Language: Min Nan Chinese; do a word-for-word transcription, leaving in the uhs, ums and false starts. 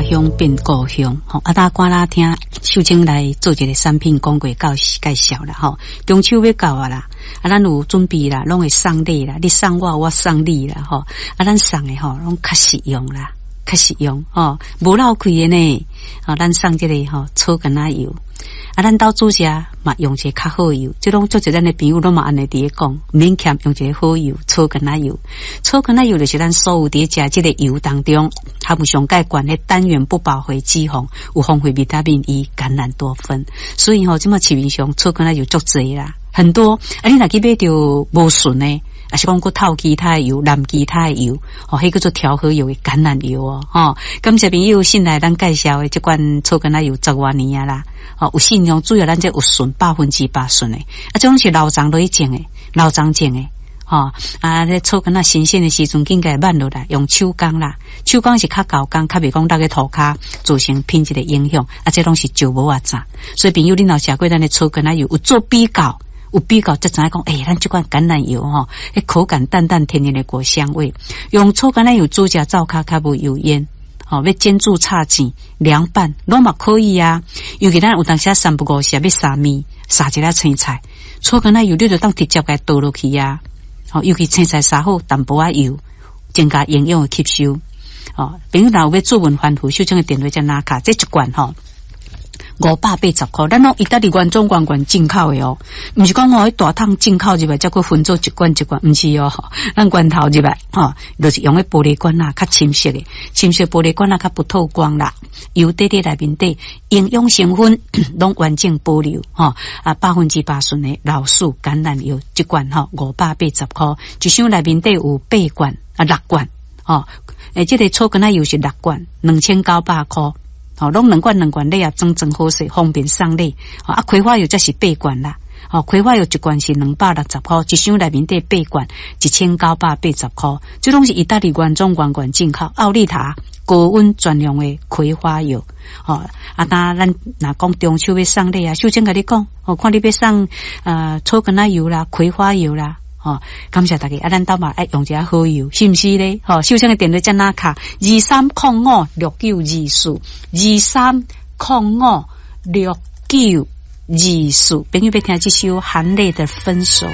鄉變故鄉，吼！啊，大家來聽秀清來做一個產品廣告介紹啦，吼！中秋欲到啊啦，啊，咱有準備啦，攏會送禮啦，你送我，我送你啦，吼！啊，咱送的吼，攏較實用啦，較實用，吼，無漏氣的呢，吼，咱送這個吼草柑仔油。啊，咱兜煮食嘛用一個較好油，這攏足濟咱的朋友攏嘛按呢佇咧講，免儉用一個好油，草柑仔油，草柑仔油就是咱所有佇咧食這個油當中，含有上蓋懸的單元不飽和脂肪，有豐富維他命 E、橄欖多酚，所以吼，這馬市面上草柑仔油足濟啦，很多。啊，你若去買著無純的，抑是講閣透其他的油、湳其他的油，吼，彼叫做調和油的橄欖油哦，吼。感謝朋友信賴咱介紹的這罐草柑仔油十外年啊啦。吼，有信用，主要咱這有純百分之百純的，啊，這種是老欉落去種的，老欉種的，吼，啊，這草柑仔新鮮的時陣，緊共挽落來，用手工啦，手工是較厚工，較袂講落去塗跤造成品質的影響，啊，這攏是石磨仔榨，所以朋友你若食過咱的草柑仔油，有做比較，有比較才知影講，欸，咱這款橄欖油吼，彼口感淡淡甜甜的果香味，用草柑仔油煮食灶跤較無油煙。吼，欲煎煮炒煎涼拌攏嘛可以啊。尤其咱有當時三不五時欲撒麵，撒一粒青菜，草柑仔油你就當直接共倒落去啊。吼，尤其青菜撒好淡薄仔油，增加營養的吸收。吼，朋友若有欲自問翻覆，秀清的電話遮拿卡，這一罐吼，五百八十箍，咱攏意大利原裝原罐進口的哦，毋是講哦，彼大桶進口入來，才閣分做一罐一罐，毋是哦，咱罐頭入來，吼，就是用彼玻璃罐仔，較深色的，深色玻璃罐仔較不透光啦。油底底內面底營養成分攏完整保留，吼啊，百分之百純的老樹橄欖油，一罐吼五百八十箍，一箱內面底有八罐啊六罐，吼，欸，這個草柑仔油是六罐，兩千九百箍。吼，攏兩罐兩罐禮盒裝裝好勢，方便送禮。啊，葵花油則是八罐啦。吼，葵花油一罐是兩百六十箍，一箱內面底八罐，一千九百八十箍。這攏是意大利原裝原罐進口，奧利塔高溫專用的葵花油。吼，啊，當咱若講中秋欲送禮啊，秀清共你講，吼，看你欲送呃草柑仔油啦、葵花油啦。吼，感謝大家，啊，咱兜嘛愛用一下好油，是毋是咧？吼，秀清的電話遮拿卡，二三空五六九二四，二三空五六九二四。朋友欲聽這首含淚的分手。